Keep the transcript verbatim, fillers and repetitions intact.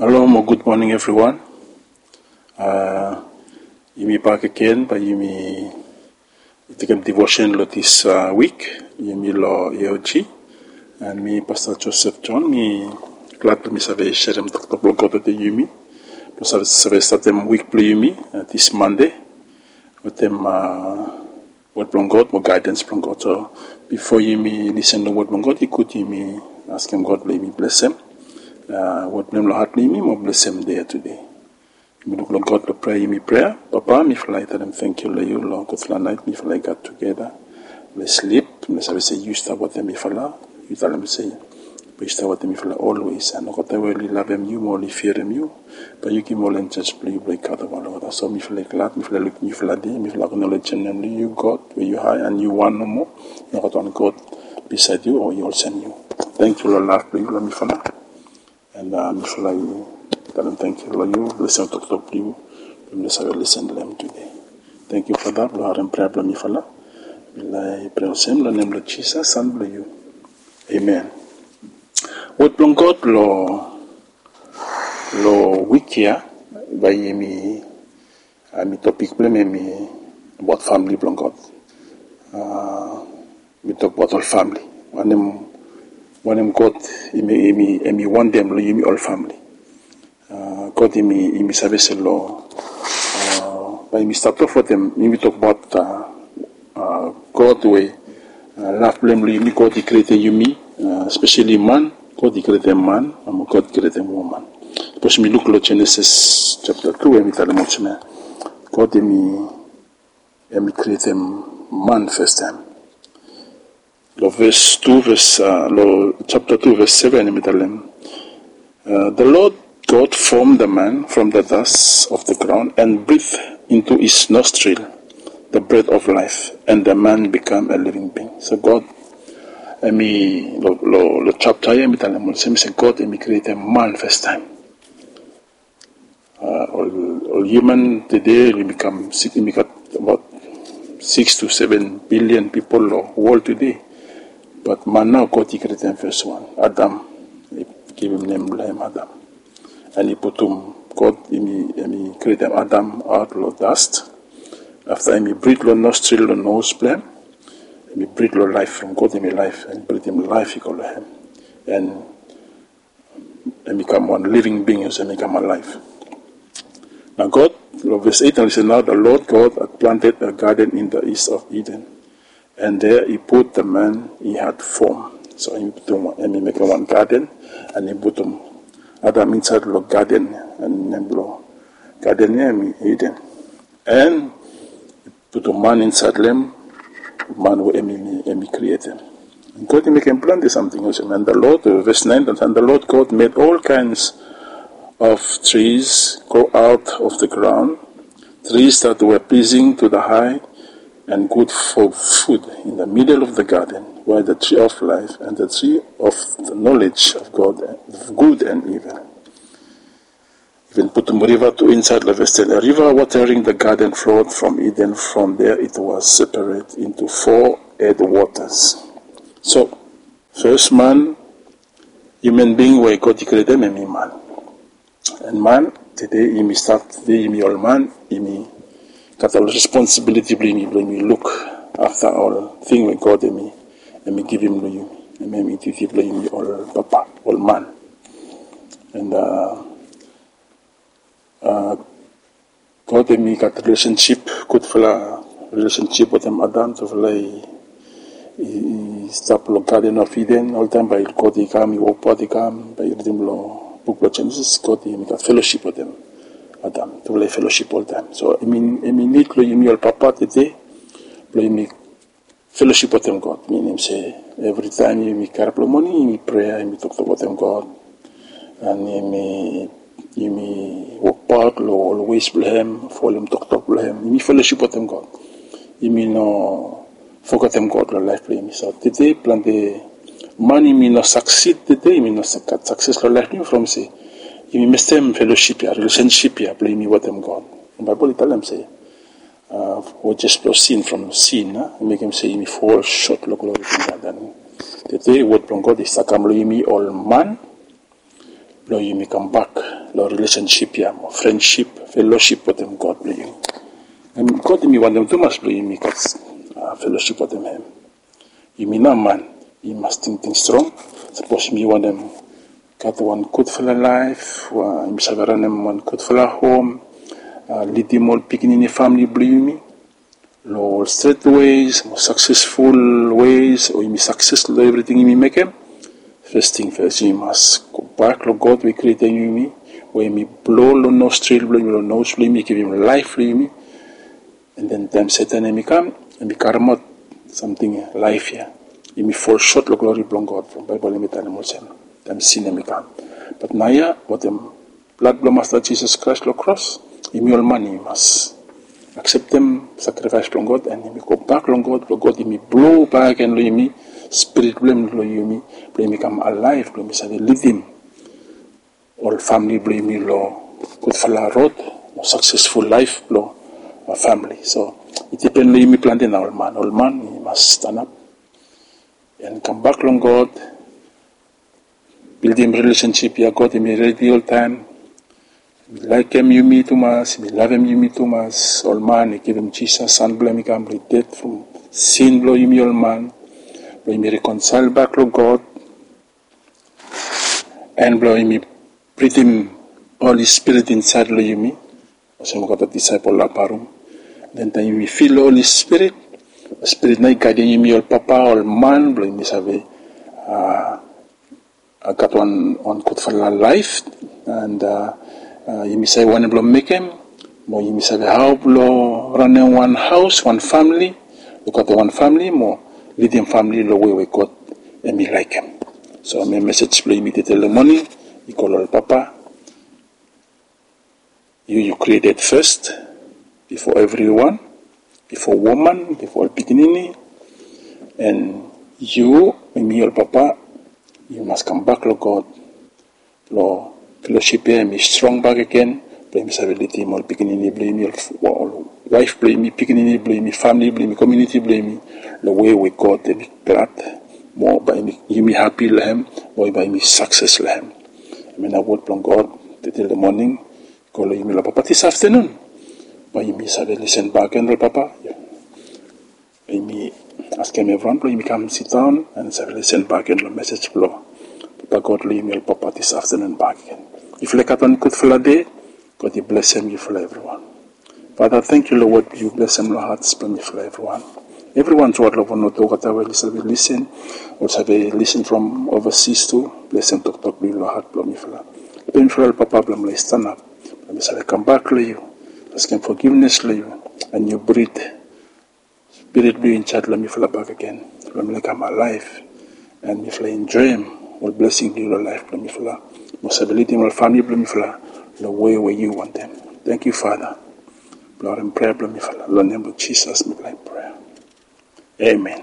Halo mo gud moning evriwan. Yumi bakegen bae yumi tekem devotion long dis wik. Yumi long A O G, and mi Pasta Joseph John. Mi glad blong mi save serem toktok blong God wetem yumi blong save statem wik blong yumi dis Mande wetem wod blong God mo gaedens blong God. So bifo yumi lisen long wod blong God, i gud yumi askem God blong yumi blesem wod blong hem long hat blong yumi mo blesem dei ya tude. Yumi luk long God long prea, yumi prea. Papa, mifala i talem tangkiu long yu long gudfala naet mifala i gat tugeta. Blong slip, mi save se yu stap wetem mifala. Yu talem se bae yu stap wetem mifala olwes, and olgeta we oli lavem yu mo oli firim yu, bae yu givim ol enjels blong yu blong i gatem ol olgeta. So mifala i glad, mifala i lukim yufala dei, mifala aknolejem nem blong yu God we yu hae and yu wan nomo. Nogat wan God bisaed yu o i olsem yu. Tangkiu long lav blong yu long mifala. And mifala i talem tangkiu long yu blong lisen toktok blong yu blong mifala save lisen long hem tude. Tangkiu Fada blong harem prea blong mifala. Mifala i prea olsem long nem blong Jisas, San blong yu. Amen. Wod blong God long long wik ya, bae yumi, topik blong hem hemi abaot famle blong God. Mi tokbaot ol famle. Wanem God hemi wantem long yumi ol famle. God hemi save se long, bae yumi stat of wetem, yumi tokbaot God we lav blong hem long yumi. God i krietem yumi, speseli man. God i krietem man, mo God i krietem woman. Sapos yumi luk long Jenesis japta tu, hemi talem olsem ya, God hemi krietem man fastaem. Long ves tu, ves long japta tu ves seven hemi talem, the Lord God formed the man from the dust of the ground and breathed into his nostril the breath of life, and the man became a living being. So God hemi long japta ya hemi talem olsem se God hemi krietem man fastaem. Ol hiuman tede oli kam, oli gat abaot six to seven billion pipol long wol tede. Bat man nao God i krietem fes wan, Adam. I givim nem blong hem Adam. And i putum, God hemi krietem Adam aot long dust. Afta hemi brit long nostril, long nos blong hem. Hemi brit long laef from God, hemi laef, and britim laef i go long hem. And hemi kam wan living being, olsem hemi kam alaef. Nao God, long ves eight, nao listen, now the Lord God had planted a garden in the east of Eden, and there he put the man he had formed. So hemi mekem wan gaden, and i putum Adam insaed long gaden, and nem blong gaden ya hemi Eden. And putum man insaed long hem, man we hemi krietem. God i mekem plante samting olsem. And the Lord, ves nine, and the Lord God made all kinds of trees grow out of the ground, trees that were pleasing to the eye and good for food. In the middle of the garden were the tree of life and the tree of the knowledge of God, of good and evil. Even putum riva tu insaed long ves ten. A river watering the garden flowed from Eden. From there it was separate into four headwaters. So fes man, human being we God i krietem, hemi man. And man tede, yumi stat tede, yumi ol man, yumi gat ol responsibiliti blong yumi, blong yumi luk afta ol ting we God hemi givim long yumi. Hemi duti blong yumi ol papa, ol man. And God hemi gat rilesensip, gudfala rilesensip wetem Adam. Tufala i stap long Garden of Eden oltaem, bae God i kam, i wokbaot, i kam. Bae yu ridim long buk blong Jenesis, God hemi gat felosip wetem Adam. Tufala i felosip oltaem. So hemi nid long yumi ol papa tede blong yumi felosip wetem God. Minim se evritaem yumi karap long moning, yumi prea, yumi toktok wetem God. And yumi wokbaot long ol ways blong hem, folem toktok blong hem. Yumi felosip wetem God. Yumi no fogetem God long laef blong yumi. So tede plante man, yumi no saksid tede, yumi no gat sakses long laef blong yumi from se yumi mistem felosip ya, rilesensip ya blong yumi wetem God. Baebol i talem se wejis blong sin from sin, i mekem se yumi fol sot long glori blong God. And tede wod blong God i stap kam long yumi ol man blong yumi kambak long rilesensip ya mo frensip, felosip wetem God blong yu. Em God yumi wantem tumas blong yumi gat felosip wetem hem. Yumi nao man yumi mas tingting strong. Sapos yumi wantem gat wan gudfala laef, yumi save ranem wan gudfala hom, lidim ol pikinini famili blong yumi long ol stret weis mo saksesful weis, o yumi sakses long evriting yumi mekem. Fes ting fes yumi mas gobak long God we i krietem yumi, we yumi blo long nostril blong yumi, long nos blong yumi, givim laef long yumi. An den taem Setan hem i kam, hem i karemaot samting laef ya, yumi fol sot long glori blong God. From Baebol hem i talem olsem, taem sin hem i kam. Bat naoia wetem blad blong Masta Jisas Kraes long kros, yumi ol man yumi mas akseptem sakrifaes blong God an yumi gobak long God blong God yumi blo bakegen long yumi Spirit blong hem long yumi, blong yumi kam alaef, blong yumi save lidim ol famili blong yumi long gudfala rod o saksesful laef blong famili. So i dipen long yumi plante nao ol man, ol man yumi mas stanap an kambak long God. Bildim rilesensip ya, God hem i redi oltaem. Hem i laekem yumi tumas, hem i lavem yumi tumas. Ol man i givim Jisas, San blong hem i kam blong i ded from sin blong yumi ol man, blong yumi rekonsael bak long God, an blong yumi bridim Holi Spirit insaed long yumi. Olsem ol gat ol disaepol long apa rum. Den taem yumi fil Holi Spirit, Spirit nao i gaedem yumi ol papa, ol man, blong yumi save gat wan gudfala laef, an yumi save wanem blong mekem, mo yumi save hao blong ranem wan haos, wan famili, lukaotem wan famili mo lidim famili long wei we God hem i laekem. So mi mesej blong yumi tede long moning i go long ol papa. Yu yu krieted fes bifo evriwan, bifo woman, bifo ol pikinini. An yu, yumi ol papa, yu mas kambak long God blong felosip ya hem i strong bakegen, blong yumi save lidim ol pikinini blong yumi, ol waef blong yumi, pikinini blong yumi, famili blong yumi, komuniti blong yumi long wei we God hem i glad, mo bae yumi hapi long hem, mo bae yumi sakses long hem. Hemia nao wod blong God tede long moning i go long yumi long papa dis aftenun. Bae yumi save lisen bakegen long papa. Yumi askem evriwan blong yumi kam sidaon an save lisen bakegen long mesej blong Papa God long yumi ol papa dis aftenun bakegen. Yufala i gat wan gudfala dei. God i blesem yufala evriwan. Fada, tangkiu long wod yu blesem long hats blong mifala evriwan. Evriwan tuat long Vanuatu olgeta we oli save lisen, ol save lisen from ovasis tu, blesem toktok blong yu long hat blong mifala. Helpem mifala ol papa blong mifala i stanap, blong mi save kambak long yu, askem fogivnes long yu, an yu brit Spirit blong yu insaed long mifala bakegen, blong mifala i kam alaef, an mifala i enjoem ol blesing blong yu long laef blong mifala, mo save lidim ol famili blong mifala long wei we yu wantem. Tangkiu Fada blong harem prea blong mifala. Long nem blong Jisas mifala i prea. Amen.